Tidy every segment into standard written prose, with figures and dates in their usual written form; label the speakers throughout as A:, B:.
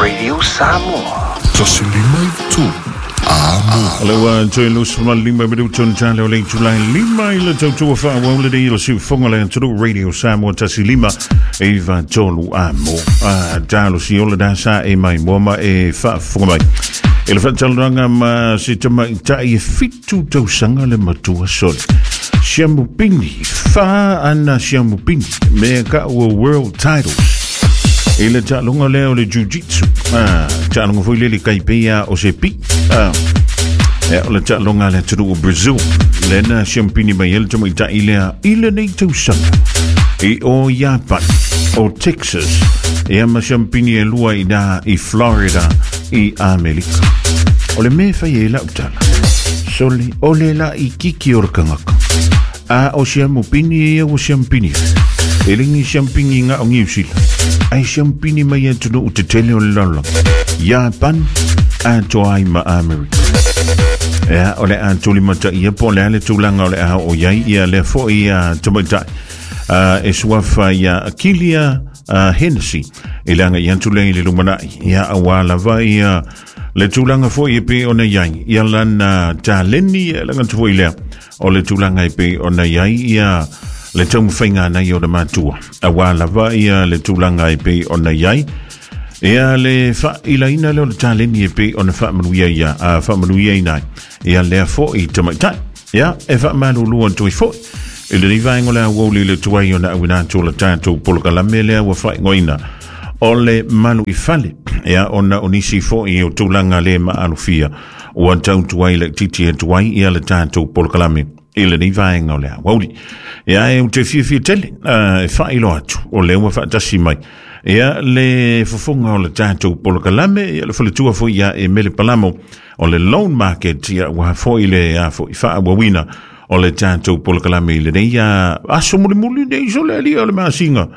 A: Radio Samoa.
B: 153 Amo.
C: O le ua toe 25 minuto na tale o le itulai lima i le tautua faaauau lenei i le siufofoga le atunuu Radio Samoa 1593 amo. A talosi ola da sa e mai mua ma e faafofoga mai. I le faatalanoaga ma se tamaitai e 7 tausaga le matua sole. Siamupini, fa ana siamupini, mea ka ua World Titles. I le taaloga lea o le jiu-jitsu. Ah, taaloga foi lele kai pei o se pi. Ah, e, o le taaloga a le atunuu o Brazil. Lena siampini mai ai le tamaitai lea i lenei tausaga. I o Iapani, o Texas, ia ma siampini e lua i na i Florida i Amerika. O le mea e fai ai lau tala, sole, o le la i kiki o le kangaka. A o siamupini ia ua siampini. E le ni siampini nga o Niu Sila. Ai siampini mai atunuu tetele o le lalolagi. Iapan, atoa ai ma Amerika. Ea, o le a tulimata ia po o le a le tulaga o le a oo i ai ia lea foi a tamaitai e suafa ia Akilia Hennessy e le agai atu lea i le lumanai ia auā lava ia le tulaga foi e pei ona i ai ia lana taleni e laga atu foi lea O le tulaga e pei ona i ai ia le taumafaiga a nai ona matua, auā lava ia le tulaga e pei ona i ai ia le faailaina lea o le taleni e pei ona faamanuia ia, a faamanuiaina ai ia lea foi tamaitai. Ia, e faamalulu atu ai foi i lenei vaega o le aoauli i le tuai ona auina atu o le tatou polokalame lea ua faaigoaina o le Malu i Fale, ia ona o nisi foi o tulaga le maalofia Ua tautu ai laitiiti atu ai ia le tatou polokalame i lenei vaega o le aoauli. Ia e ou te fiafia tele e faailoa atu o lea ua faatasi mai ia le fofoga o le tatou polokalame ia le faletua foi ia Emele Palamo o le Loan Market ia ua foi le a foi faaauauina o le tatou polokalame i lenei aso mulimuli nei so le alia o le masina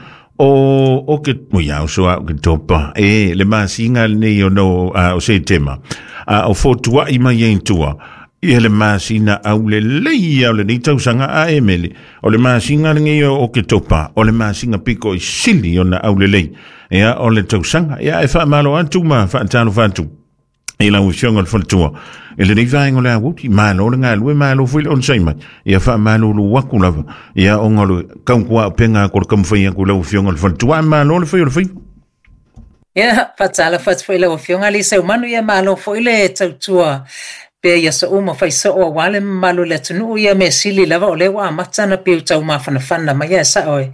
C: O o ke o ia o so a o ke topa e le masina lenei o no a o Setema a o fotuaʻi mai ai i tua ia le masina aulelei ia o lenei tausaga a e mele o le masina lenei o Oketopa o le masina piko i sili ona aulelei ia o le tausaga ia e faamalo atu ma faatalofa atu i lau Afioga i le Faletua i lenei vaega o le aoauli, malo le galue, malo foi le onosai mai. Ia faamalulu atu lava, ia ona o le tautuaupega atu o le taumafai atu i lau Afioga i le Faletua, ae malo le fai o le faiva.
D: Ia, faatalofa atu foi i lau Afioga Lisa Seumanu, ia malo foi le tautua pea i aso uma fai soo aua le mamalu o le atunuu, ia mea sili lava o lea ua amata ona pei o tau mafanafana mai ae sao e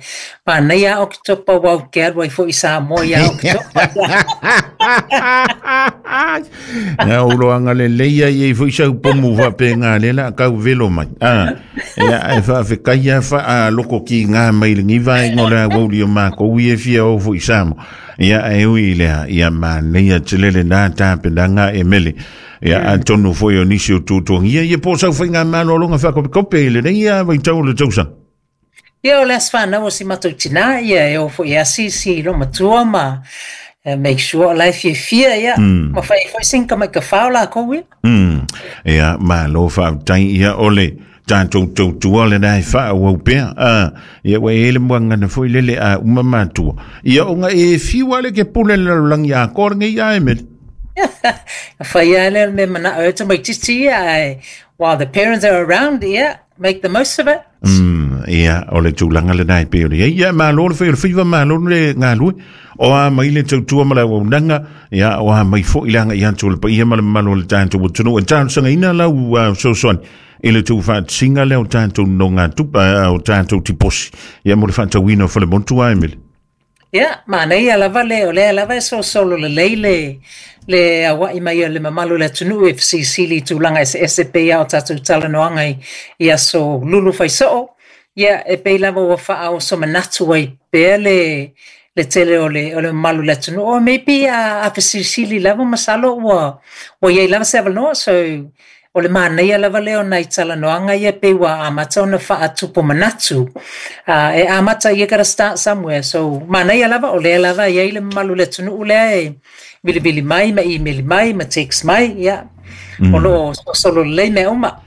D: manaia a Oketopa aua ou te alu ai foi i Samoa ia Oketopa.
C: Ia ou loaga lelei ai ai foi sau pomu faapena lea la kau velo mai. Ah, ia e faafetai a faaloko kiga mai lenei vaega o le aoauli o makou ia e fia o foi i Samoa. Ia e ui i lea, ia manaia tele lena tapenaga e mele. Ia atonu foi o nisi o tuatuagia ia po o sau faigamalologa faakopekope i lenei vaitau o le tausaga.
D: Ia o le aso fanau o si matou tina ia e o foi e asiasi i loomatua ma make sure o la e fiafia ia ma fai ai foi sina tamaitafā o lakou ia.
C: Ia malo faafetai ia o le tatou tautua lena e faaauau pea. Ah, ia ua e le muagana foi lele a uma matua. Ia ona e fiu lava le ke pule le lalolagi atoa lenei a e mele.
D: Fai lava lea o le mea manao ai tamaitiiti ia ae while the parents are around ia make the most of it.
C: Ia, o le tulaga lena e pei ona i ai. Ia, malo le fai o le faiva, malo le galue. O a mai le tautua ma le auaunaga, ia, o a mai foi le agai atu o le paia ma le mamalu o le tatou atunuu. E talosagaina lau fesoasoani i le tuufaatasiga lea o tatou nonogatupe, o tatou tiposi, ia, mo le faatauina o falemotu a Emily.
D: Ia, manaia lava le, o lea lava e solosolo lelei le, le aua'i mai o le mamalu o le atunuu e fesilisili i tulaga eseese pei lava o tatou talanoaga i, i aso lulu fai soo. Ia, e pei lava ua faaoso manatu ai pea le, le tele o le, o le mamalu o le atunuu. Or maybe a, a fesilisili lava masalo ua, ua i ai lava se avanoa. So, O le manaia lava lea o nai talanoaga ia pei ua amata ona faatupu manatu. E amata, you gotta start somewhere. So, manaia lava, o lea lava e i ai le mamalu o le atunuu lea e vilivili mai ma imeli mai ma text mai, ia, o lo o solosolo lelei mea uma.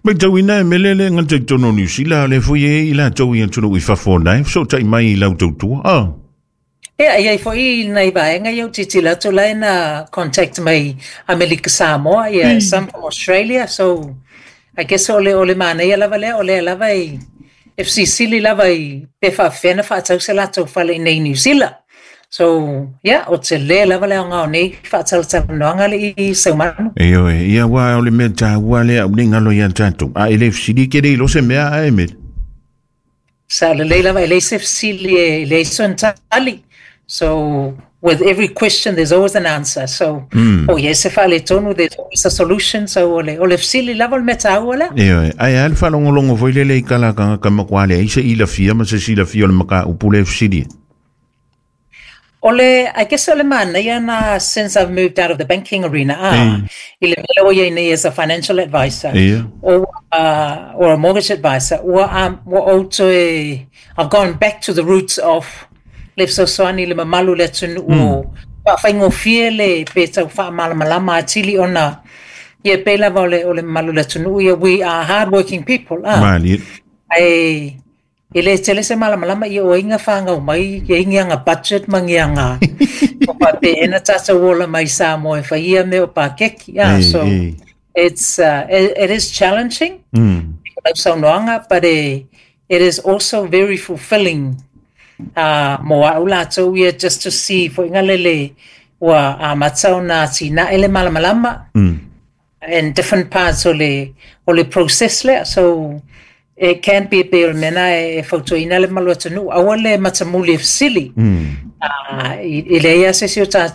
C: Matauina e mele le gata i totonu o Niu Sila, a o lea foi e i ai i latou i atunuu i fafo ona e fesootai mai i lau tautua. Ah.
D: Ia, e i ai foi nai vaega ia ou tilotilo atu la e na contact mai Amerika Samoa, ia, some from Australia, so I guess o le manaia lava lea, o lea lava e fesilisili lava i pe faapefea ona faatau se latou fale i nei Niu Sila. So, yeah, o tele lava le aoga o nei faatalatalanoaga le i Saumanu.
C: Ioe, ia ua o le mea taua lea au nei galo ia tatou. A e le fesili ke le iloa se mea ae Mele.
D: Sa lelei lava e leai se fesili e leai sona tali. So with every question there's always an answer. So o i ai se faaletonu, there's always a solution. So o le fesili lava o le mea taua lea.
C: Ioe, ae a le faalogologo foi lele i kala ka makuā leai se ilafia ma se silafia o le mataupu le fesili.
D: O le, I guess o le manaia na since I've moved out of the banking arena, i le mea ua iai nei as a financial advisor, or a mortgage advisor, ua ou toe, I've gone back to the roots of le fesoasoani i le mamalu o le atunuu o faafaigofie le pe tau faamalamalama atili ona ia pei lava o le mamalu o le atunuu ia, we are hard working people, ah.
C: Malie.
D: Ae e le tele se malamalama ia o ai whāngau mai, ia i ngianga budget ma ngianga o pa tatou ola mai Samoa e whai ia me o pākeki. Ah, so it is challenging, saunoaga, but it is also very fulfilling mo au latou ia just to see foi lele ua amata ona atinae le malamalama in different parts o le process lea. So it can be pe o le mea na e fautuaina le mamalu atunuu, aua le matamuli e fesili. I leai lava se isi o tatou.